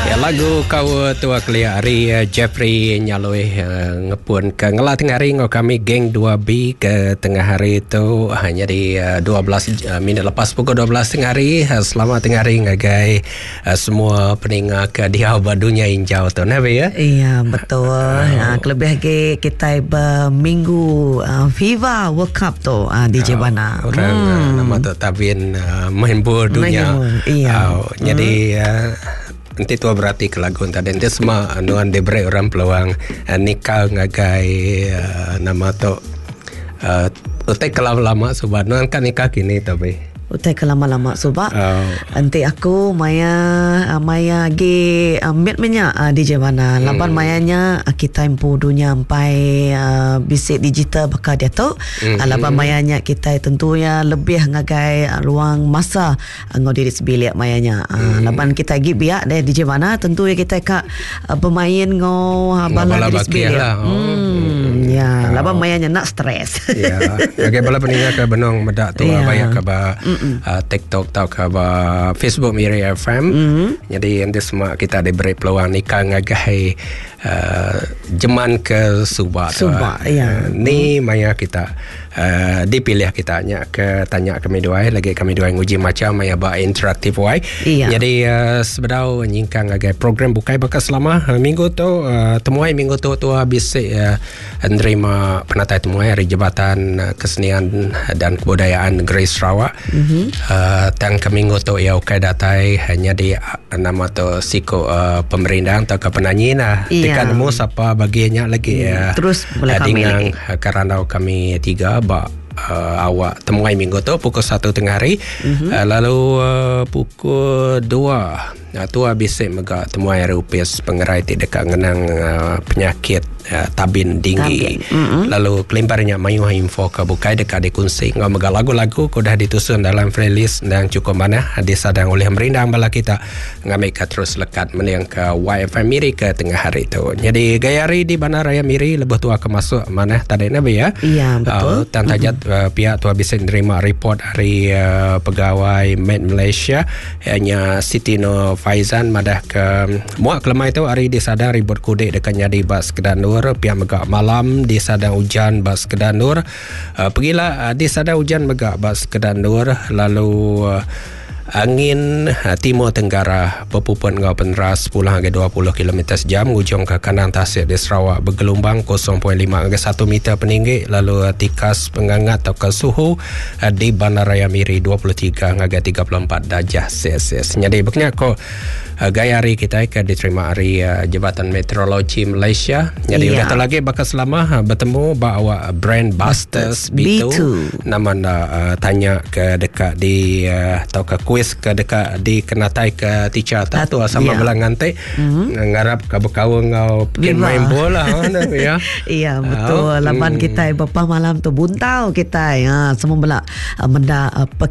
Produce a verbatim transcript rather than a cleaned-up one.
Ya, lagu kau tua kelia hari uh, Jeffrey Nyaloi uh, ngepun ke ngelah tengah hari ngau kami geng dua B ke tengah hari tu hanya di uh, dua belas uh, minit lepas pukul dua belas tengah hari. Uh, selamat tengah hari ngagai uh, semua peninga ke di haba dunia injau tu nah ya. Iya betul. Oh. Uh, kelebih lagi kita berminggu uh, FIFA World Cup tu uh, D J uh, Bana. Orang hmm. uh, nama tu tabin uh, main bola dunia. Iya. Uh, jadi uh, nanti tua berarti ke lagu tadi nanti semua anuan diberi orang peluang uh, nikah ngagai uh, nama tu uh, utai kelam lama sebab nuan kan nikah kini tapi utai kelama-lama sebab oh. Nanti aku maya maya gi uh, mit minyak uh, D J Bana. Hmm. Laban mayanya uh, kita empu dunia ampai uh, bisik digital bakal dia tu. Hmm. Uh, laban mayanya kita tentunya lebih ngagai uh, ruang masa uh, ngau diri sebilik mayanya. Uh, hmm. Laban kita gi biak deh D J Bana tentunya kita kak uh, bermain ngau uh, bala bala diri sebilik. Lah. Oh. Hmm. Ya, Oh. laban mayanya nak stres. Ya. Okey, bala peninga ke benong medak tu Ya. banyak ke ba Uh, TikTok atau ke Facebook Miri F M. Mm-hmm. Jadi nanti semua kita diberi peluang nikah ngagai uh, jeman ke Subak. Subak, ya. Uh, ni maya kita uh, dipilih kita nya ke tanya kami dua lagi kami dua nguji macam maya ba interaktif wai. Iya. Jadi uh, sebedau nyingkang ngagai program bukai bakal selama uh, minggu tu uh, temuai minggu tu tu habis uh, nerima penatai temuai dari Jabatan uh, Kesenian dan Kebudayaan Negeri Sarawak. Mm-hmm. Uh, tang ke minggu tu ia ukai datai hanya di uh, nama tu siko uh, pemerindang atau ke penyanyi nah. Iya. Dekat nemu siapa bagiannya lagi Hmm. ya. Terus boleh uh, kami dengan lagi. kerana kami tiga ba uh, awak temuai minggu tu pukul satu tengah hari. Mm-hmm. Uh, lalu uh, pukul dua uh, tu habis mega temuai hari upis pengerai ti dekat ngenang uh, penyakit uh, tabin tinggi. Tabin. Mm-hmm. Lalu kelimparnya mayu info ke bukai dekat dikunci ngau mega lagu-lagu ku dah ditusun dalam playlist dan cukup mana disadang oleh merindang bala kita ngambil ke terus lekat meniang ke Y F M Miri ke tengah hari tu. Jadi gaya hari di Bandaraya Miri lebih tua ke masuk mana tadi nabi ya. Iya, betul. Uh, tan tajat mm-hmm. uh, pihak tua bisa nerima report hari uh, pegawai Med Malaysia hanya Siti Nur Faizan madah ke muak kelemai tu hari disadang ribut kudik dekat nyadi bas Kedanur pihak megak malam di sadang hujan bas Kedanur uh, pergilah uh, di sadang hujan megak bas Kedanur lalu uh, angin uh, timur tenggara berpuput ngau peneras sepuluh hingga dua puluh kilometer sejam ujung ke kanan tasik di Sarawak bergelombang kosong perpuluhan lima hingga satu meter peninggi lalu uh, tikas pengangat atau ke suhu uh, di Bandaraya Miri dua puluh tiga hingga tiga puluh empat darjah Celsius. Jadi beknya ko uh, gaya hari kita ke diterima hari uh, Jabatan Meteorologi Malaysia. Jadi Ya. udah tak lagi bakal selama uh, bertemu bawa Brand Busters B two. B two. Nama nak uh, tanya ke dekat di uh, atau ke kuis ke dekat di kenatai ke teacher tak tu sama ya. belang ngantai mm-hmm. ngarap ke berkawan ngau pergi Viva. main bola ha ya. Iya betul. Oh, Laban hmm. kita bapa malam tu buntau kita. Ha semua belak uh, menda uh,